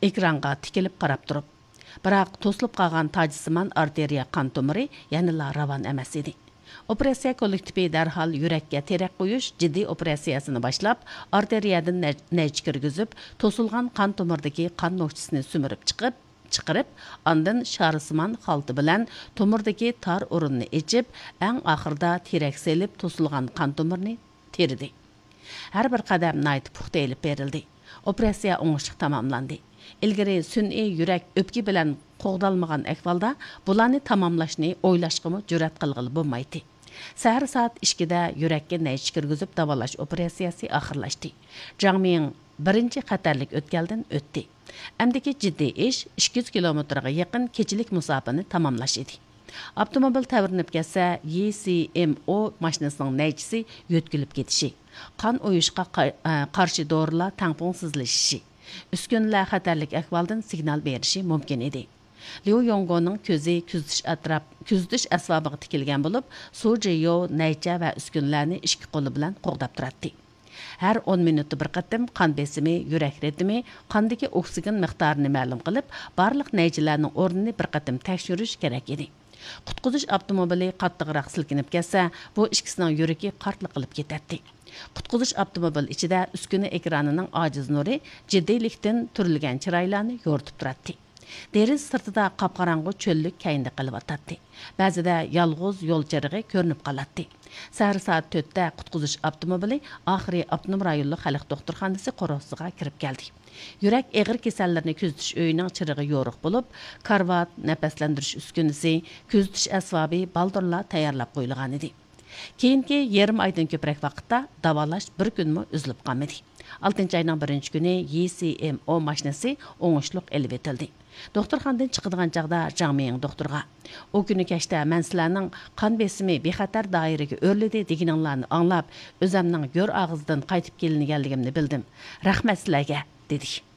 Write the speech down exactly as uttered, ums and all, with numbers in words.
ئېكرانغا تىكىلىپ قاراپ تۇرۇپ. بىراق توسۇلۇپ قالغان تاجسىمان ئارتېرىيە قان تومۇرى يەنىلا راۋان ئەمەس ئىدى. ئوپېراتسىيە كوللېكتىپى دەرھال يۈرەككە تېرەك قويۇش، جىددىي ئوپېراتسىيەسىنى باشلاپ، ئارتېرىيەدىن نەج-، نەيچە كىرگۈزۈپ، توسۇلغان قان تومۇرىدىكى قان نوخچىسىنى سۈمۈرۈپ چىقىپ، چىقىرىپ، ئاندىن شارىسىمان خالتا بىلەن تومۇردىكى تار ئورۇننى ئېچىپ، ئەڭ ئاخىرىدا تېرەك سېلىپ توسۇلغان قان تومۇرنى تېرىدى. ھەر بىر قەدەم ناھايىتى پۇختا ئېلىپ بېرىلدى. ئوپېراتسىيە ئوڭۇشلۇق تاماملاندى. ئىلگىرى سۈنئىي يۈرەك ئۆپكە بىلەن قوغدالمىغان ئەھۋالدا بۇلارنى تاماملاشنى ئويلاشقىمۇ جۈرئەت قىلغىلى بولمايتتى. سەھەر سائەت ئىككىدە يۈرەككە نەيچە كىرگۈزۈپ داۋالاش ئوپېراتسىيەسى ئاخىرلاشتى. جاڭ مىڭ بىرىنچى خەتەرلىك ئۆتكەلدىن ئۆتتى. ئەمدىكى جىددىي ئىش ئىككى يۈز كىلومېتىرغا يېقىن كېچىلىك مۇساپىنى تاماملاش ئىدى. ئاپتوموبىل تەۋرىنىپ كەتسە، يى سى ئېم ئو ماشىنىسىنىڭ نەيچىسى يۆتكىلىپ كېتىشى، قان ئۇيۇشقا قا-، ئە، قارشى دورىلار تەڭپۇڭسىزلىشىشى، ئۈسكۈنىلەر خەتەرلىك ئەھۋالدىن سىگنال بېرىشى مۇمكىن ئىدى. ليۇ يوڭگونىڭ كۆزى كۆزىتىش ئەتراپ، كۆزىتىش ئەسۋابىغا تىكىلگەن بولۇپ، سۇ جىيو نەيچە ۋە ئۈسكۈنىلەرنى ئىككى قولى بىلەن قوغداپ تۇراتتى. ھەر ئون مىنۇتتا بىر قېتىم قان بېسىمى، يۈرەك رىتىمى، قاندىكى ئوكسىگېن مىقدارىنى مەلۇم قىلىپ، بارلىق نەيچىلەرنىڭ ئورنىنى بىر قېتىم تەكشۈرۈش كېرەك ئىدى. قۇتقۇزۇش ئاپتوموبىلى قاتتىقراق سىلكىنىپ كەتسە، بۇ ئىككىسىنىڭ يۈرىكى قارتلىق قىلىپ كېتەتتى. قۇتقۇزۇش ئاپتوموبىل ئىچىدە ئۈسكۈنە ئېكرانىنىڭ ئاجىز نۇرى جىددىيلىكتىن تۈرۈلگەن چىرايلارنى يورۇتۇپ تۇراتتى. دېرىزە سىرتىدا قاپقاراڭغۇ چۆللۈك كەينىدە قېلىۋاتاتتى. بەزىدە يالغۇز يول چىرىغى كۆرۈنۈپ قالاتتى. سەھەر سائەت تۆتتە قۇتقۇزۇش ئاپتوموبىلى ئاخىرى ئاپتونوم رايونلۇق خەلق دوختۇرخانىسى قورۇسىغا كىرىپ كەلدى. يۈرەك ئېغىر كېسەللىرىنى كۆزىتىش ئۆيىنىڭ چىرىغى يورۇق بولۇپ، كارىۋات، نەپەسلەندۈرۈش ئۈسكۈنىسى، كۆزىتىش ئەسۋابى بالدۇرلا تەييارلاپ قويۇلغانىدى. كېيىنكى يېرىم ئايدىن كۆپرەك ۋاقىتتا داۋالاش بىر كۈنمۇ ئۈزۈلۈپ قالمىدى. ئالتىنچى ئاينىڭ بىرىنچى كۈنى يى سى ئېم ئو ماشىنىسى ئوڭۇشلۇق ئېلىۋېتىلدى. دوختۇرخانىدىن چىقىدىغان چاغدا جاڭ مىڭ دوختۇرغا، «ئۇ كۈنى كەچتە مەن سىلەرنىڭ قان بېسىمى بىخەتەر دائىرىگە ئۆرلىدى دېگىنىڭلارنى ئاڭلاپ، ئۆزەمنىڭ گۆر ئاغزىدىن قايتىپ كېلىنگەنلىكىمنى بىلدىم. رەھمەت سىلەرگە!» دېدى.